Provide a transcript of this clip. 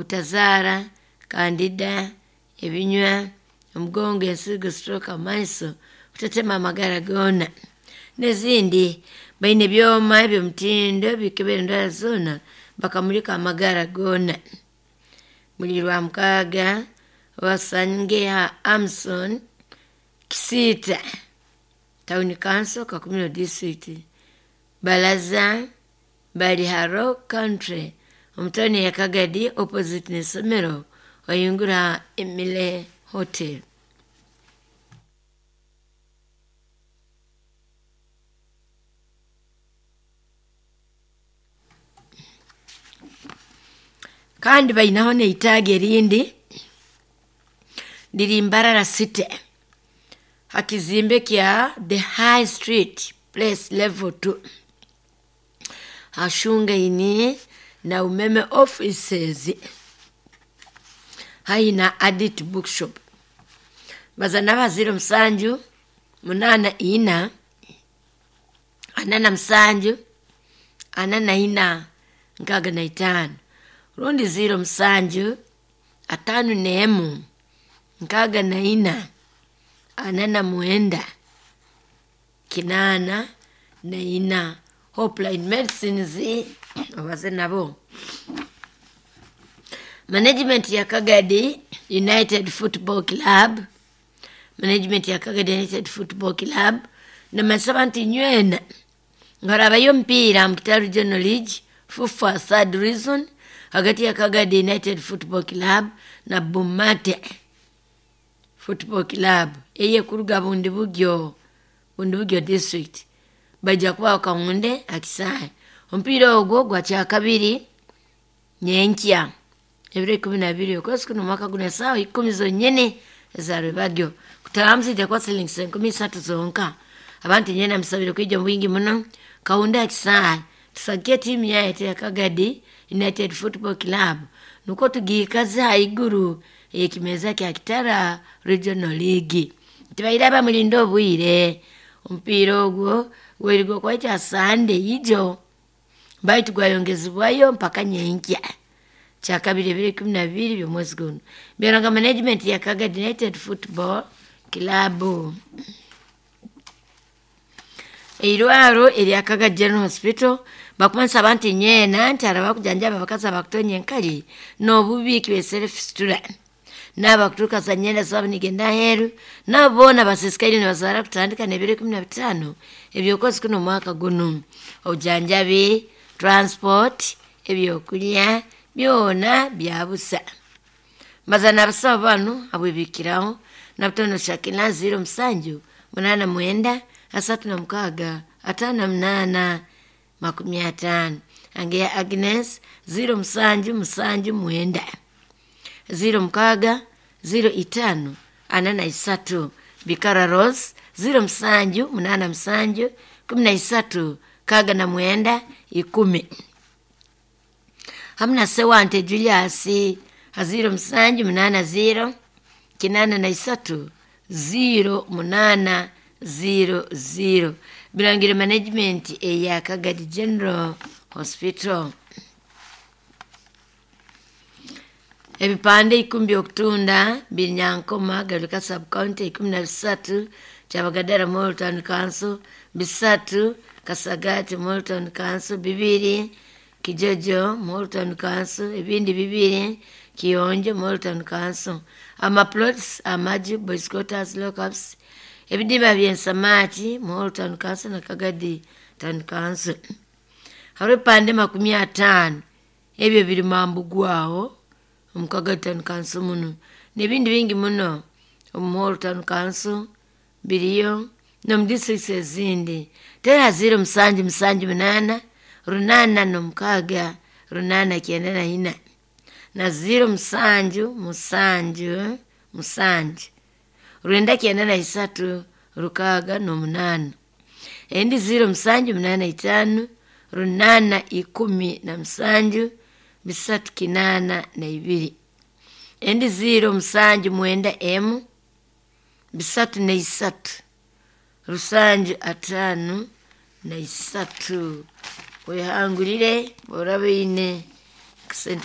Obutazaara, kandida, ebinywa, omugongo, ensigo, stroke, amaiso, kutetema amagara goona n'ezindi. Baine ebyoma eby'omutindo bikebera endwara zoona bakamulika amagara goona. Buli Rwamukaaga obasange ha Amson Kisiita Town Council, Kakumiro District. Balaza bali ha Rock Country omu tawuni ya Kagadi opposite n'isomero oyingura Emile Hotel. Kandi bainaho n'eitaagi erindi liri Mbarara City ha kizimbe kya The High Street Place Level 2 hashungaine na Umeme Offices haihi na Adit Bookshop. Baza naba 07 84 47 44 65 rundi 07 51 64 49 84. Hopeline Medicines obaze nabo. Management ya Kagadi United Football Club, management ya Kagadi United Football Club namasaba nti nywena ngarabayo omupiira mu Kitara Regional League FUFA third reason hagati ya Kagadi United Football Club na Bumate Football Club eyekuruga Bundibugyo, Bundibugyo District. Bajja kubaho Kawunde akisaawe. Omupiira ogwo gwa kyakabiri nyenkya ebiro 12 okwezi kuno omwaka guno esaawa 10 zonyene eza rwebagyo. Kutaamu zijja kuba silingi 30,000 zonka. Abantu nyena musabire kwija mu bwingi muno. Kawunde akisaawe tusagike tiimu yaitu ya Kagadi United Football Club nukwo tugiikaze haiguru ey'ekimeza kya Kitara Regional League. Tibaire mulinde obwire. Omupiira ogwo gwerigwa kwaita Sande ijo baitu gwayongezebwayo mpaka nyenkya kyakabiri ebiro 12 by'omwezi guno. Byaranga management ya Kagadi United Football Club. Eirwaro erya Kagadi General Hospital bakumanisa abantu nyeena nti araba kujanjaba abakazi abakutonya enkali n'obubi kibesere fistula n'abakuturuka za nyenda zabo nigenda aheeru nabo boona basisikaire nibazaara kutandika n'ebiro 15 eby'okwezi kuno omwaka guno. Obujanjabi, transport, ebyokulya byona bya busa. Mbaza n'abasawo banu abwibikiraho nabutono Shakila 07 89 36 58 50. Angeya Agnes 07 79 06 05 43. Bikara Rose 07 87 13 69 10. Hamna Sewante Julius 07 80 83 08 00. Bilangire management eya Kagadi General Hospital. Ebipande 10 by'okutunda biri Nyankoma, Garuka Sub-County 13, Kyabagadara Moro Town Council, 3, Kasagati Moro Town Council, 2, Kijojo Moro Town Council, ebindi 2, Kiyonjo Moro Town Council. Amaplots, amaju, boys quarters, lockups, ebidimba by'ensamaki Moro Town Council na Kagadi Town Council. Hariho ebipande 50 ebyo biri Mambugwaho omu Kagadi Town Council muno n'ebindi bingi muno omu Moro Town Council biriyo n'omu districts ezindi. Tera 07 78 86 894 na 07 7 7 993 68. Endi 07 85 817 382. Endi 07 91 303 7 53. Wehangulire orabe oine kasente.